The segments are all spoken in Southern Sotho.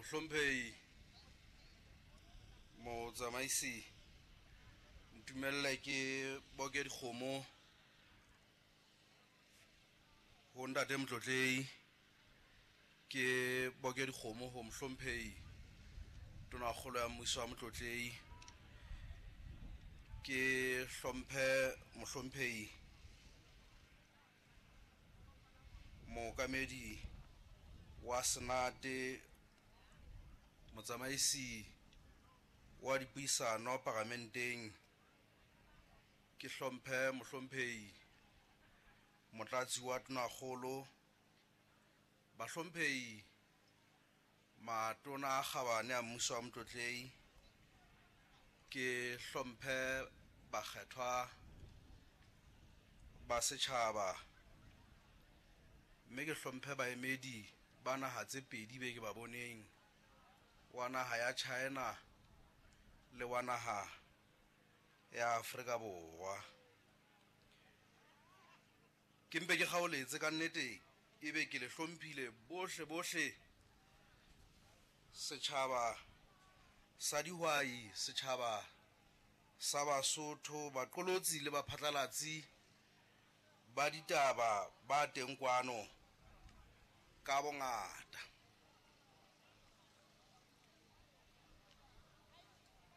Mohlomphehi motsamaisi, ntumelle ke boke dikgomo ho ntate Motlotlehi, ke boke dikgomo ho mohlomphehi tonakgolo ya mmuso wa Motlotlehi, ke hlomphe mohlomphehi mookamedi wa senate, motsamaisi wa dipuisano paramenteng, ke hlomphe mohlomphehi motlatsi wa tonakgolo, bahlomphehi matona a kgabane a mmuso wa Motlotlehi, ke hlomphe bakgethwa ba setjhaba, mme ke hlomphe baemedi ba naha tse pedi be ke ba boneng, wa naha ya China le wa naha ya Afrika Borwa. Ke mpe ke kgaoletse ka nnete, ebe ke le hlomphile bohle bohle, setjhaba sa dihwai, setjhaba sa Basotho, baqolotsi le baphatlalatsi ba ditaba ba teng kwano ka bongata.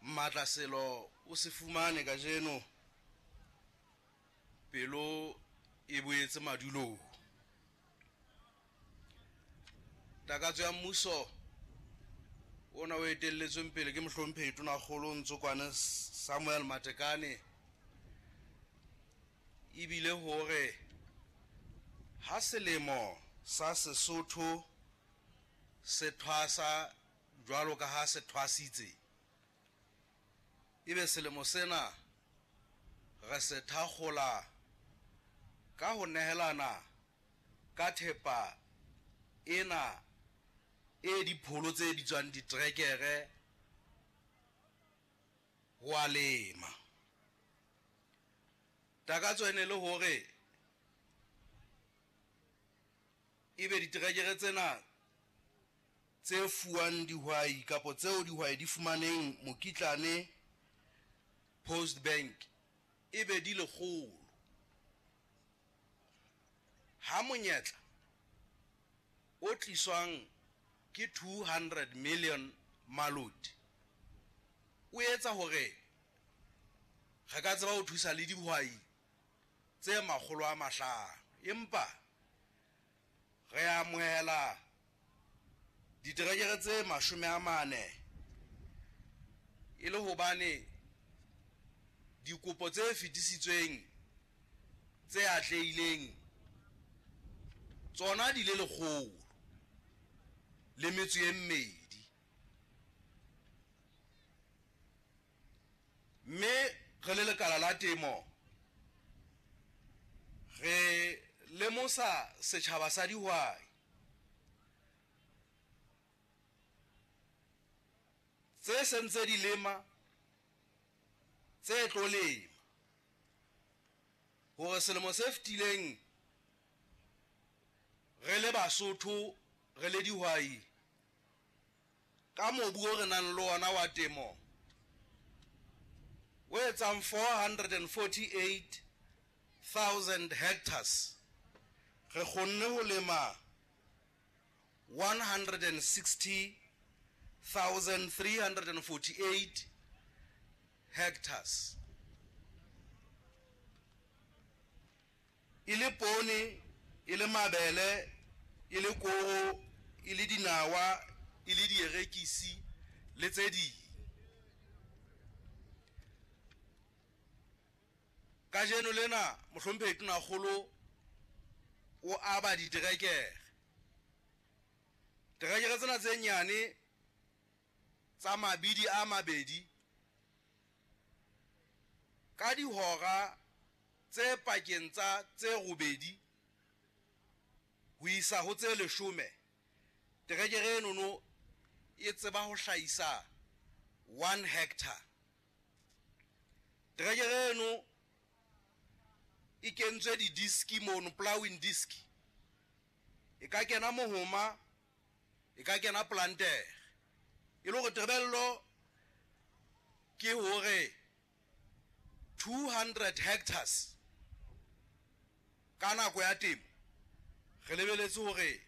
Matlaselo o se fumane kajeno, pelo e boetse madulong. Takatso ya mmuso ona o etelletsweng pele ke mohlomphehi tonakgolo Ntsokwane Samuel Matekane ebile hore ha selemo sa Sesotho se thwasa jwalo ka ha se thwasitse, ebe selemo sena re se thakgola ka ho nehelana ka thepa ena e dipholo tse bitswang ditrekere ho a lema. Takatso e ne le hore ebe diterekere tsena tse fuwang dihwai kapa tseo dihwai di fumaneng mokitlane Post Bank ebe di lekgolo. Ha monyetla o tliswang ke 200 million maloti o etsa hore re ka tseba ho thusa le dihwai tse 500, empa re amohela diterekere tse 40 e le hobane dikopo tse fetisitsweng tse atlehileng tsona di le 102. Mme re le lekala la temo re lemosa setjhaba sa dihwai tse sentse di lema, tse tlo lema, hore selemo se fetileng re le Basotho, re le dihwai, ka mobu o re nang le ona wa temo o etsang 448,000 hectares, re kgonne ho lema 160,348 hectares. E le poone, e le mabele, e le koro, e le dinawa, e le dierekisi le tse ding. Kajeno lena mohlomphehi tonakgolo o aba diterekere. Terekere tsena tse nyane tsa mabidi a mabedi ka dihora tse pakeng tsa tse 8 ho isa ho tse 10, terekere enono e tseba ho hlahisa 1 hectare. Terekere eno e kentswe di-diski mono, plowing disk. E ka kena mohoma, e ka kena plantere. E le hore tebello ke hore 200 hectares ka nako ya temo re lebeletse hore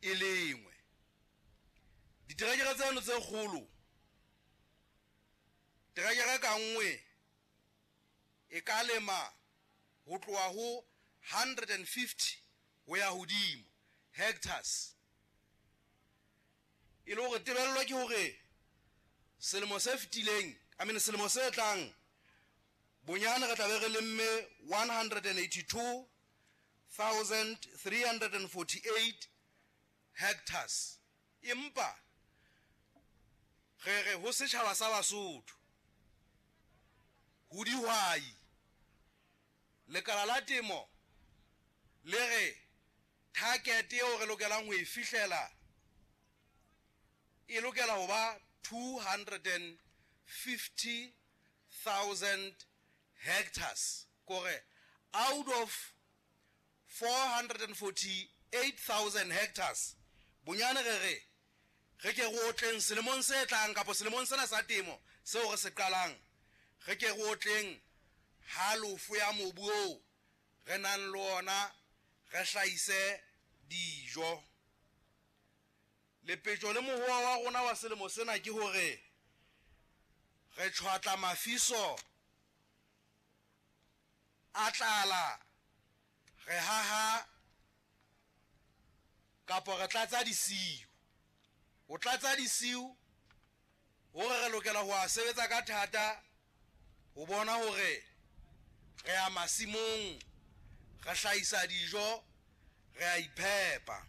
e lengwe. Diterekere tseno tse kgolo, terekere ka nngwe e ka lema ho tloha ho 150 ho ya hodimo hectares. E le hore tebello ke hore selemo se fetileng, I mean selemo se tlang, bonyane re tla be re lemme 182,348 hectares. Empa re re ho setjhaba sa Basotho, ho dihwai, lekala la temo le re target eo re lokelang ho e fihlela e lokela ho ba 250,000 hectares. Kore out of 448,000 hectares, bonyane re re re ke re otleng selemong se tlang kapa selemong sena sa temo seo re se qalang, re ke re otleng halofo ya mobu oo re nang le ona, re hlahise dijo. Lepetjo le mohoa wa rona wa selemo sena ke hore re tjhwatla mafiso a tlala, re haha kapa re tlatsa disiu. Ho tlatsa disiu hore re lokela ho a sebetsa ka thata ho bona hore re ya masimong, re hlahisa dijo, re a iphepa.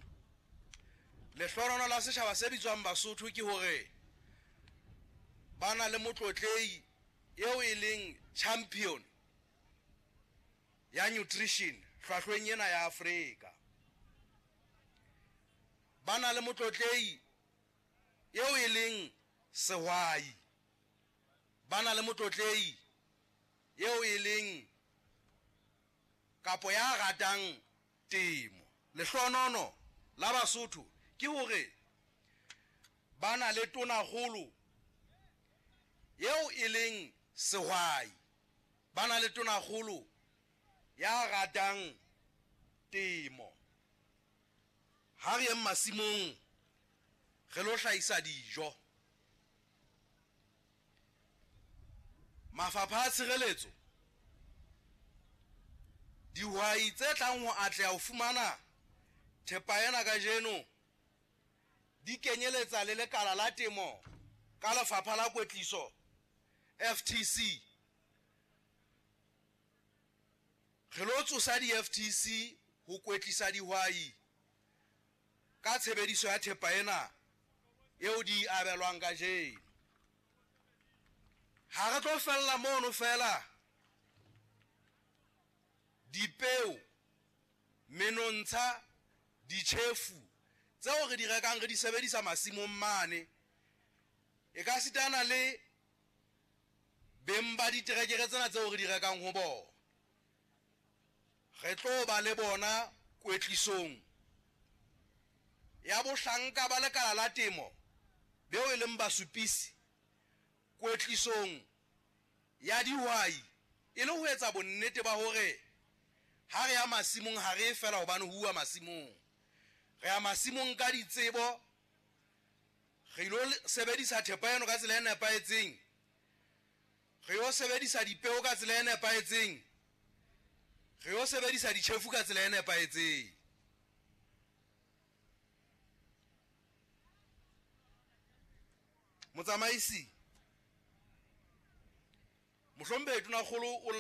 Lehlohonolo la setjhaba se bitswang Basotho ke hore ba na le motlotlehi eo e leng champion ya nutrition hlwahlweng ena ya Afrika. Ba na le motlotlehi eo e leng sehwai. Ba na le motlotlehi eo e leng kapo ya ratang temo. Lehlohonolo la Basotho ke hore ba na le tonakgolo eo e leng sehwai. Ba na le tonakgolo ya ratang temo. Ha re yeng masimong re lo hlahisa dijo. Mafapha a tshireletso, dihwai tse tlang ho atleha ho fumana thepa ena kajeno di kenyeletsa le lekala la temo ka lefapha la kwetliso FTC. Re lo tsosa di-FTC ho kwetlisa dihwai ka tshebediso ya thepa ena eo di abelwang kajeno. Ha re tlo fella mono fela, dipeo, menontsha, ditjhefu tseo re di rekang re di sebedisa masimong mane, e ka sitana le beng ba diterekere tsena tseo re di rekang ho bona. Re tlo ba le bona kwetlisong ya bohlanka ba lekala la temo beo e leng basupisi, kwetlisong ya dihwai, e le ho etsa bonnete ba hore ha re ya masimong ha re fela hobane ho uwa masimong. Re ya masimong ka ditsebo, re ilo sebedisa thepa eno ka tsela e nepahetseng, re yo sebedisa dipeo ka tsela e nepahetseng, re yo sebedisa ditjhefu ka tsela e nepahetseng. Motsamaisi, mohlomphehi Tonakgolo o